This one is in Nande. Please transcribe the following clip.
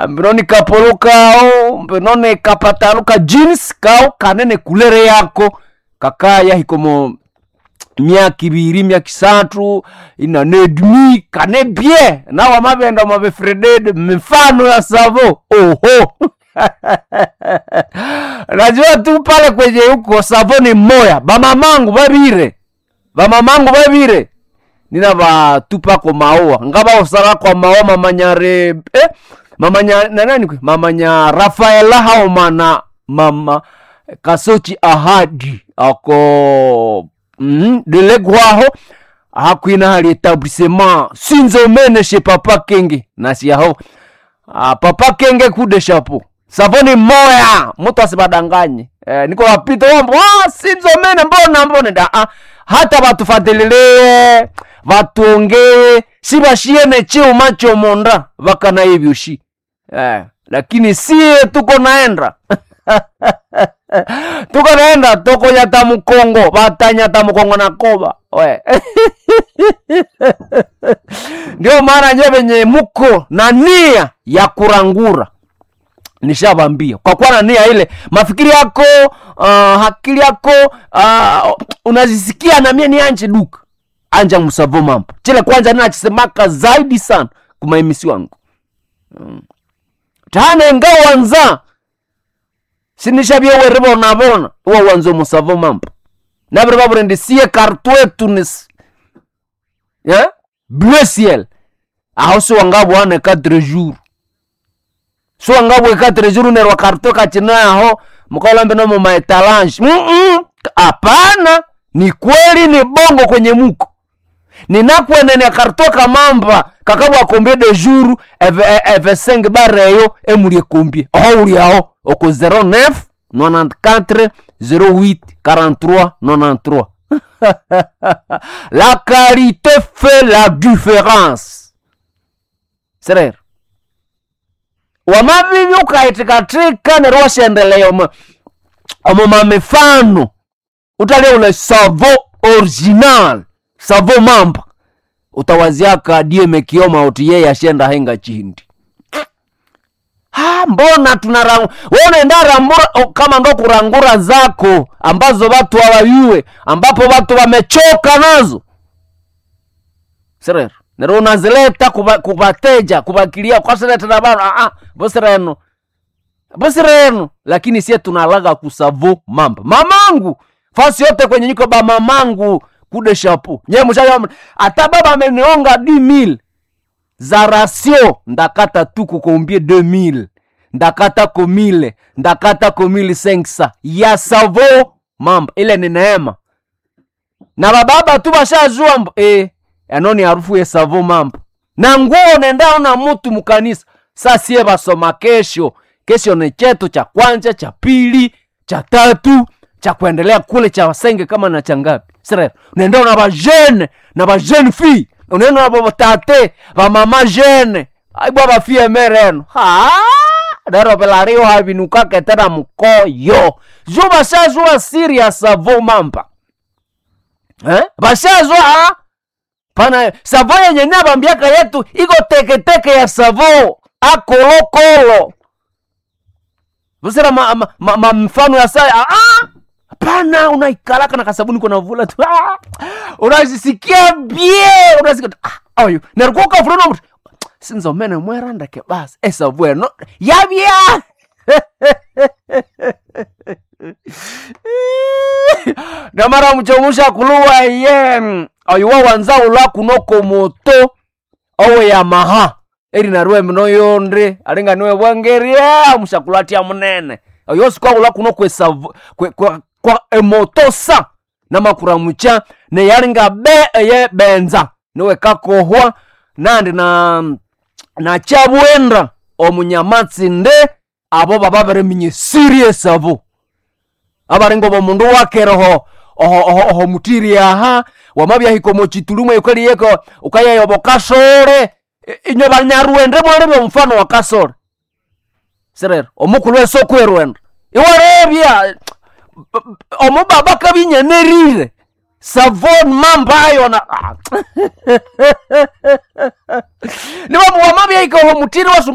Mbinoni kapolo kao, mbinoni kapatalo ka jeans kao kanene kulere yako kakaya hikomo myaka ibiri, myaka isathu inanedmi kane bie nawe amabenda mabefreded mifano ya savo oho. Najua tu pale kwenye huko savo ni moya. Bamamangu babire, bamamangu babire, ninabatupako maua ngabaosala kwa maua mamanyare mamanya na nani kwe mamanya Rafaela haomana mama Kasochi ahadi ako delegwaho hakwina hali etablissement sinzomene chez papa Kenge nasiaho. Papa Kenge kude chapeau savoni moya mtu asibadanganye. Niko wapita wambo sinzomene mbona mbona da hata batufatililie batuongee sibashiene chiuma chomonda bakana ibyoshi lakini sie tuko naenda tuko naenda tokonyata mukongo batanyata mukongo na koba we. Ndio maana nyewe venye muko na nia ya kurangura nishabambia kwa kuwa na nia ile mafikiri yako hakili yako unazisikia na mie ni anje duka anja musavo mambo chile kwanza ninachisemaka zaidi sana kumaimisi wangu tane ngawanza sinishabye weribona bona uwa wanzo musavo mambo nabiri baburendi siye kartwetu nis yeah? Bleu ciel aho si wangabwane 4 jours so wangabwe 4 jours nerwa kartwe kachina aho mukaolambe no mu etalange hapana. Ni kweli ni bongo kwenye muko ninakwenene kartwe kamamba kakabwa kombie de jour eve 5 bareyo emulie kombie oho uli aho oko 09 94 08 43 93. La qualité fait la différence. Serero wamavivi ukaitikatika nerwo washendelea omo mamifano utalia ule savo original savo mamba utawaziaka die mekioma uti yeye ashenda henga chindi. Mbona tunarang wewe unaenda rambura kama ndo kurangura zako ambazo watu hawajue ambapo watu wamechoka nazo. Serero nero unazileta kubateja kubakilia kwa sereta na bana bosireno bosireno, lakini sie tunalaga kusavo mamba mamangu fasi yote kwenye niko ba mamangu kude shapu nye mshayo ata baba amenionga 10000 za rasio ndakata tu kukombie 2000 ndakata ko 1000 ndakata ko 1500 ya savo mamba ile ni neema na bababa tu bashajua mbo anoni harufu ya savo mamba na nguo nenda na mutu mukanisa. Sasa basoma kesho kesho ni chetu cha kwanza cha pili cha tatu cha kuendelea kule cha wasenge kama na changapi sasa unaenda na ba jeune na ba jeune fille unaenda na ba tate ba mama jeune aibwa ba fille mereno ha daro pelario habinuka ketera mukoyo jo bashajua serious savo mamba bashajua pana savo yenye nabambiaka yetu iko teketeke ya savo akolokolo busera ma mfano ya saya pana unaikalaka na kasabuni kuna vula tu unazisikia bie unasikia oyo nerikuka fulano mtu sinzomene mweranda ke basi esavu eno yabya. Namara mchomusha kuluwa ye oyo wawanza ula kunoko moto owe Yamaha eri narwe mino yonde alinga niwe bwangeria mushakulatia munene oyo sikwa ula kuno kwe kwa, kwa emoto sa namakuramucha ne yalinga be eye benza niwe kakohwa nandi na chabwenda omunyamatsi nde abo baba bereminya serious abo abaringo bomundu wakeroho oho mutiri aha wamabyahika omuchitulumo yukaliyeko ukayayobo kasore inywe banyarwende mwarebe omufano wa kasore serero omukulu wese okwerwenda iwarebya omubaba kabinyenerire savon mambayo na niwamuwamabyaika oho mutiri.